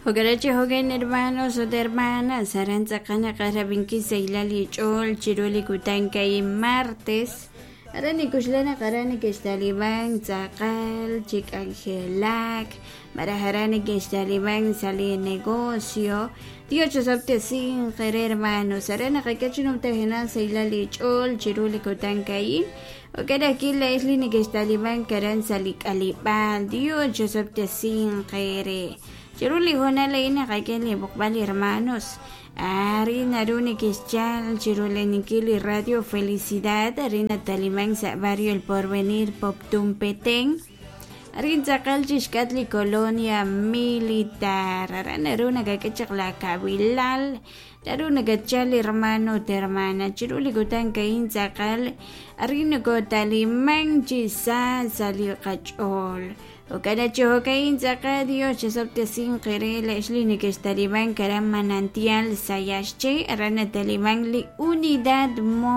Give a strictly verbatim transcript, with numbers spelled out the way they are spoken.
Jo'kan jo'kan hermanos ut hermanas aran tz'aqal naqaj saylal li ch'ool chiru li kutan ka'in martes aran nikuxlan naq aran neke'xtaliban tz'aqal chi k'anjelak maraj aran neke'xtaliban sa' li negocio. Dios chosab'tesinq re hermanos aran naqak'e chi numtajenaq saylal li ch'ool chiru li kutan ka'in. Jo'kan ajwi' la'ex li neke'xtaliban aran sa' li k'aleb'aal. Dios chosab'tesinq re. Chiru li hoonal a'in naqak'e li b'oqb'al hermanos arin naru neke'xchal chiru leninkil li Radio Felicidad arin nataliman sa' barrio El Porvenir Poptún Petén arin tz'aqal chixk'at li colonia militar aran naru nakak'e chaq la kabilal naru nakachal hermano ut hermana chiru li kutan ka'in tz'aqal arin nokotaliman chi sa sa' li qach'ool. Jo'kan chi jo'ka'in tz'aqal Dios chosab'tesinq re la'ex li neke'xtaliban aran Manantial Sayaxche aran nataliman li Unidad Móvil.